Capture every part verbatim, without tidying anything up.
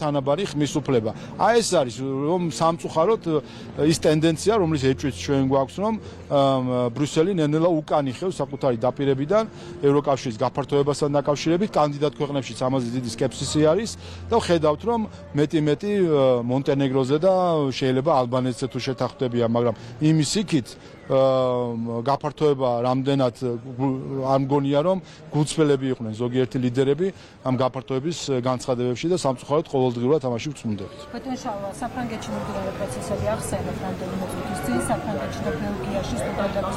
თანაბარი ხმის უფლება. აი ეს არის რომ სამწუხაროდ ის ტენდენცია, რომელიც ეჭვიც ჩვენ გვაქვს, რომ ბრიუსელი ნელ-ნელა უკან იხევს საკუთარი დაპირებიდან ევროკავშირის გაფართოებასთან დაკავშირებით, კანდიდატ ქვეყნებშიც ამაზე დიდი სკეპსისი არის და ხედავთ, რომ მეტი-მეტი მონტენეგროზე და შეიძლება ალბანეთზე თუ შეთანხმდებიან, მაგრამ იმის იქით გაფართოება რამდენად არ მგონია რომ გულწრფელები იყვნენ ზოგიერთი ლიდერები ამ გაფართოების განცხადებებში და სამწუხაროდ ყოველდღიურად ამაში ვწმუნდებით. ბატონ შალვა, საფრანგეთში მიმდინარე პროცესები ახსენეთ რამდენიმე წუთის წინ საფრანგეთში და ბელგიაში სტუდენტების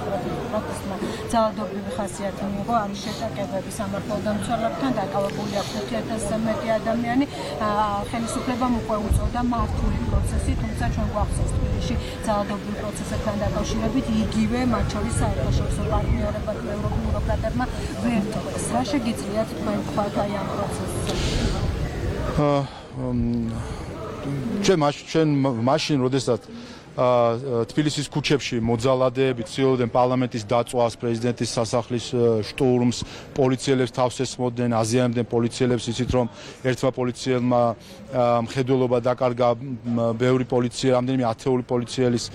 პროტესტმა ძალადობრივი ხასიათი მიიღო, არის შეტაკებები სამართალდამცველებთან, დაკავებული აქვს ერთი ათასზე მეტი ადამიანი, ხელისუფლებამ უკვე უწევდა მართული პროცესი, თუმცა ჩვენ გვახსოვს თბილისში ძალადობრივ პროცესებთან დაკავშირებით იგივე მათ შორის საერთაშორისო პარტნიორებმა და ევროპულოკრატებმა ვერ თქვეს. რა შეგიძლიათ თქვენ თქვათ აი ამ პროცესზე? ჩვენ ჩვენ მაშინ, როდესაც თბილისის ქუჩებში მოძალადეები ცდილობდნენ პარლამენტის დაწვას, პრეზიდენტის სასახლის შტურმს, პოლიციელებს თავს ესმოდნენ, აზიანებდნენ პოლიციელებს, იცით რომ ერთმა პოლიციელმა მხედველობა დაკარგა ბევრი პოლიცია, რამდენიმე ათეული პოლიციელის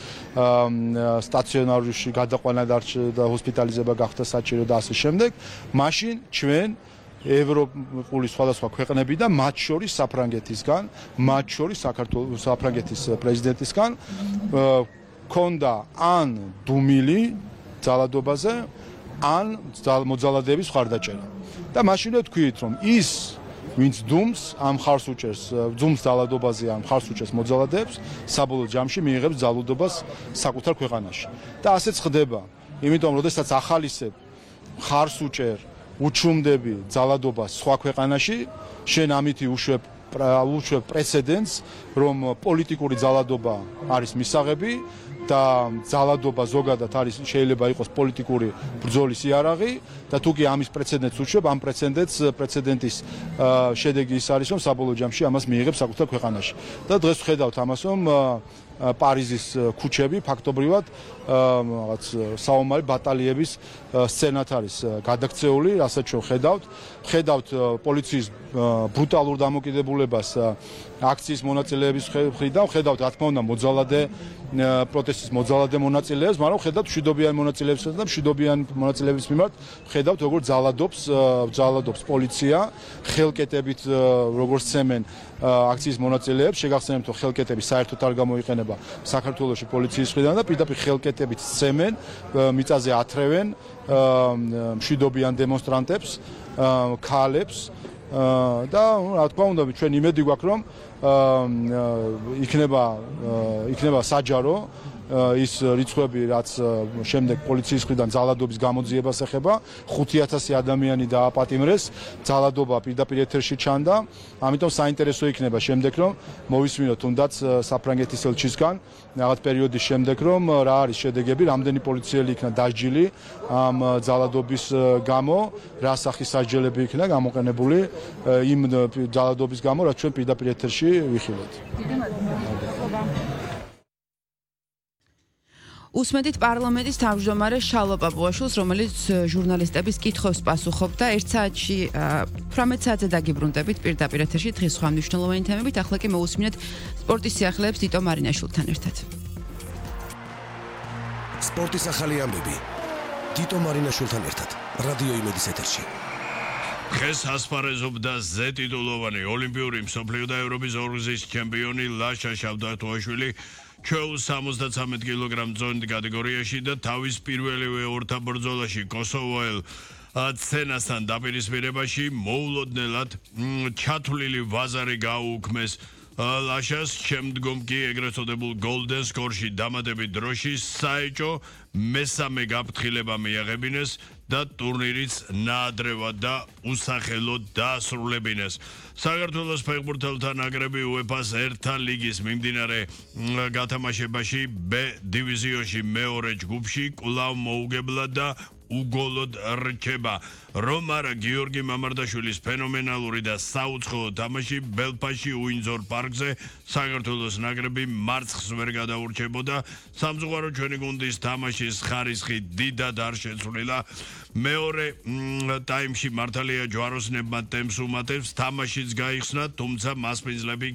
სტაციონარში გადაყვანა და ჰოსპიტალიზება გახდა საჭირო და ასე შემდეგ. მაშინ ჩვენ ევროპული სხვადასხვა ქვეყნები და მათ შორის საფრანგეთისგან, მათ შორის საქართველოს საფრანგეთის პრეზიდენტისგან ქონდა ან დუმილი ძალადობაზე, ან მოძალადეების მხარდაჭერა. და მაშინვე თქვით, რომ ის ვინც დუმს ამ ხარს უჭერს, ძუმს ძალადობაზე ან ხარს უჭერს მოძალადეებს, საბოლოო ჯამში მიიღებს ძალადობას საკუთარ ქვეყანაში. და ასეც ხდება. იმიტომ, როდესაც ახალისებ ხარს უჭერ უჩუმდები ძალადობას სხვა ქვეყანაში, შენ ამითი უშვებ უშვებ პრეცედენტს, რომ პოლიტიკური ძალადობა არის მისაღები და ძალადობა ზოგადად არის შეიძლება იყოს პოლიტიკური ბრძოლის იარაღი და თუ კი ამის პრეცედენტს უშვებ, ამ პრეცედენტს პრეცედენტის შედეგი ის არის, რომ საბოლოო ჯამში ამას მიიღებს საკუთარ ქვეყანაში. და დღეს ვხედავთ ამას, რომ პარიზის ქუჩები ფაქტობრივად რაღაც საომარი ბატალიების სცენად არის გადაქცეული, რასაც ჩვენ ხედავთ. ხედავთ პოლიციის ბრუტალურ დამოკიდებულებას აქციის მონაწილეების მხრიდან, ხედავთ რა თქმა უნდა მოძალადე პროტესტის მოძალადე მონაწილეებს, მაგრამ ხედავთ მშვიდობიან მონაწილეებსაც და მშვიდობიან მონაწილეების მიმართ ხედავთ როგორ ძალადობს ძალადობს პოლიცია, ხელკეტებით როგორ სცემენ აქციის მონაწილეებს, შეგახსენებთ რომ ხელკეტები საერთოდ არ გამოიყენება საქართველოში პოლიციის მხრიდან და პირდაპირ ხელკეტებით სცემენ, მიწაზე ათრევენ მშვიდობიან დემონსტრანტებს, ქალებს და რა თქმა უნდა ჩვენ იმედი გვაქვს რომ იქნება იქნება საჯარო ის რიცხვები რაც შემდეგ პოლიციის მხრიდან ძალადობის გამოძიებას ეხება, ხუთი ათასი ადამიანი დააპატიმრეს, ძალადობა პირდაპირ ეთერში ჩანდა, ამიტომ საინტერესო იქნება შემდეგ რომ მოვისმინოთ თუნდაც საფრანგეთის ელჩისგან რაღაც პერიოდის შემდეგ რომ რა არის შედეგები, რამდენი პოლიციელი იქნა დასჯილი ამ ძალადობის გამო, რა სახის სასჯელები იქნა გამოყენებული იმ ძალადობის გამო, რაც ჩვენ პირდაპირ ეთერში ვიხილეთ. უსმენთ პარლამენტის თავმჯდომარე შალვა პაპუაშვილს, რომელიც ჟურნალისტების კითხვებს პასუხობდა. ერთ საათში თვრამეტ საათზე დაგიბრუნდებით პირდაპირ ეთერში დღის სხვა მნიშვნელოვანი თემებით. ახლა კი მოусმინეთ სპორტის სიახლეებს დიტო მარინაშვილთან ერთად. სპორტის ახალი ამბები დიტო მარინაშვილთან ერთად რადიო იმედის ეთერში. დღეს ასპარეზობდა ზე ტიტულოვანი ოლიმპიური მსოფლიო და ევროპის ორგზის ჩემპიონი ლაშა შავდათოაშვილი ჩვეულის სამოცდათვრამეტ კილოგრამ ზონით კატეგორიაში და თავის პირველივე ორთაბრძოლაში კოსოვოელ ცენასთან დაპირისპირებაში მოულოდნელად ჩათვლილი ვაზარი გაუუქმეს ლაშას, შემდგომ კი ეგრეთ წოდებულ golden score-ში დამატებით დროში საეჭო მესამე გაფრთხილება მიაღებინეს და ტურნირიც ნაადრევად და უსახელოდ დაასრულებინეს. საქართველოს ფეხბურთელთა ნაკრები უეფა-ს ერთა ლიგის მიმდინარე გათამაშებაში ბ დივიზიონში მეორე ჯგუფში კვლავ მოუგებლად და უგოლოდ რჩება. რომ არა გიორგი მამარდაშვილის ფენომენალური და საუცხოო თამაში ბელფასში უინძორ პარკზე საქართველოს ნაკრები მარცხს ვერ გადაურჩებოდა. სამწუხარო ჩვენი გუნდის თამაშის ხარისხი დიდად არ შეცვლილა. მეორე ტაიმში მართალია ჯვაროსნებმა ტემპს უმატებს, თამაშიც გაიხსნა, თუმცა მასპინძლები